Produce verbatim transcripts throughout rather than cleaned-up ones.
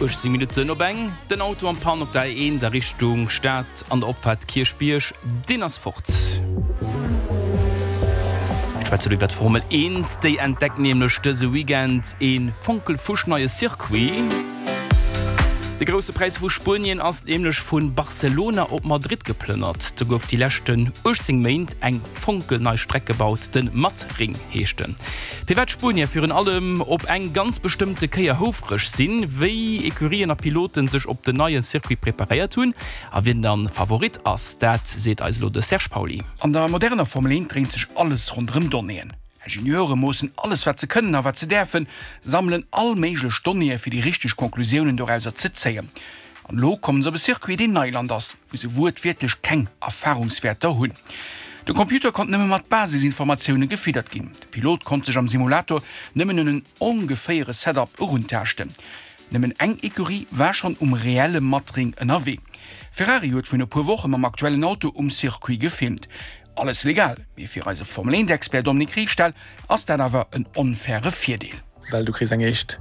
uechtzéng Minutten op eng, Den Auto en panne op der A eent a Richtung Stad an der Opfaart Kierchbierg, deen ass fort. Mir schwätzen elo iwwer d'Formel eent. Déi entdeckt nämlech dëse Weekend ee fonkelfuschneie Circuit. De Grousse Präis vu Spuenien ass nämlech vu Barcelona op Madrid geplënnert. Do gouf déi leschten uechtzéng Méint eng fonkelnei Streck gebaut, de Madring heescht en. Firwat d'Spuenier virun allem op eng ganz bestëmmte Kéier houfreg sinn, wéi Ecurien a Piloten sech op den neie Circuit preparéiert hunn a wien dann Favorit ass, dat seet eis elo de Serge Pauly. An der moderner Formel eent dréint sech alles ronderëm Donnéeën. Ingenieure moossen alles wat se kënnen a wat se däerfen, sammelen all méiglech Donnéeë fir déi richteg Conclusiounen dorauser ze zéien. An elo kommen se op e Circuit deen Neiland ass, wou se wuertwiertlech keng Erfarungswäerter hunn. De Computer konnt nëmme mat Basisinformatioune gefiddert ginn, de Pilot konnt sech am Simulator nëmmen un en ongeféiere Setup eruntaaschten. Nëmmen eng Ecurie war schonn um reelle Madring ënnerwee. Ferrari huet virun e puer Woche mam aktuellen Auto um Circuit gefilmt. Alles legal, mee fir eise Formel eent Expert Dominique Riefstahl ass dat awer en onfaire Virdeel. Well du kriss eng éischt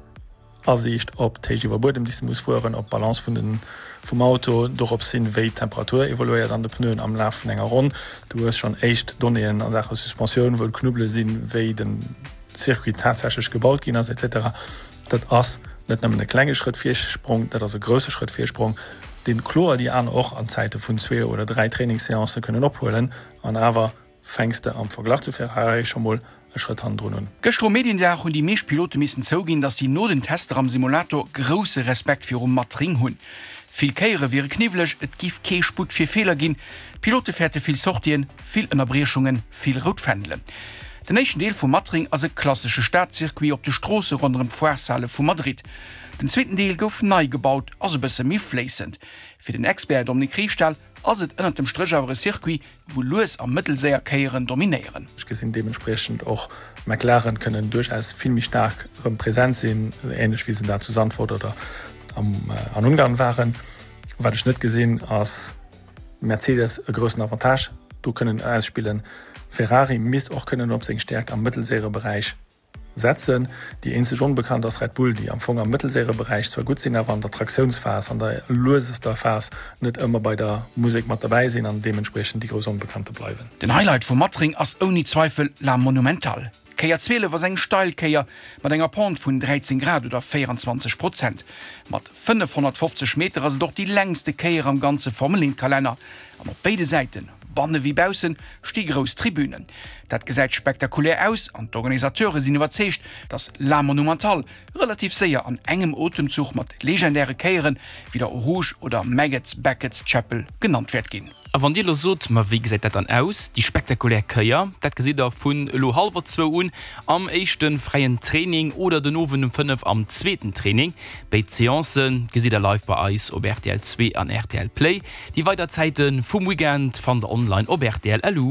Asiicht op d'Héicht iwwer Buedem, déi s de muss fueren, op d'Balance vun den, vum Auto, dorops hin, wéi d'Temperatur evoluéiert an de Pneuen am Laf vun enger Ronn. Du hues schonn éischt Donnéeën a Saache Suspensioun, wou d'Knubbele sinn, wéi de Circuit tatsächlech gebaut ginn ass, et cetera. Dat ass net nëmmen e klenge Schrëtt Virsprong, dat ass e grousse Schrëtt Virsprong, deen kloer déi aner och an Zäite vun zwee oder dräi Trainingsseancë kënnen ophuelen. An awer fänks de am Verglach zu Ferrari scho mol e Schrëtt hannendrun un. Gëschter um Mediendag hunn déi meescht Pilote missen zouginn, datt si no den Tester am Simulator grousse Respekt virum Matring hunn. Vill Kéiere wiere kniwweleg, et giff kee Sputt fir Feeler ginn, d'Pilote fäerte vill Sortien, vill Ënnerbriechungen, vill rout Fändelen. Den éischten Deel vum Matring ass e klassesche Stadcircuit op de Stroosse ronderëm d'Foireshale vu Madrid. Den zweeten Deel gouf nei gebaut, ass e bësse méi fléissend. Fir den Expert Dominique Riefstahl ass et ënnert dem Stréch awer e Circuit, wou lues a mëttelséier Kéieren dominéieren. Ech gesinn deementspriechend och McLaren kënnen duerchaus vill méi staark erëm present sinn, änlech wéi se dat zu Zandvoort oder an Ungarn waren. Wat ech net gesinn, ass Mercedes e groussen Avantage do kënnen ausspillen. Ferrari misst och kënnen op seng Stäerkt am mëttelséiere Beräich setzen. Déi eenzeg Onbekannt ass Red Bull, déi am Fong am mëttelséiere Beräich zwar gutt sinn, awer an der Traktiounsphas, an der luesester Phas net ëmmer bei der Musek mat derbäi sinn an deementspriechend déi grouss Onbekannte bleiwen. Den Highlight vum Matring ass ouni Zweifel La Monumental. D'Kéier zwielef ass eng steil Kéier mat enger Pente vun dräizéng Grad oder véierenzwanzeg Prozent. Mat fënnefhonnertfofzeg Meter ass et och déi längste Kéier am ganze Formel-eent-Kalenner. An op béide Säiten, banne wéi baussen, sti grouss Tribünen. Dat gesäit spektakulär aus an d'Organisateure sinn iwwerzeegt, datt La Monumental relativ séier an engem Otemzuch mat legendäre Kéieren wéi der Eau Rouge oder Maggotts Becketts Chapel genannt wäert ginn. A wann Dir elo sot, Ma wéi gesäit dat dann aus, déi spektakulär Kéier? Dat gesitt Der vun elo hallwer zwou un am éischte fräien Training oder den Owend um fënnef am zweeten Training. Béid Seancë gesitt Der live bei eis op rtl zwee an rtl Play. Déi weider Zäite vum Weekend fannt Der online op rtl. Lu.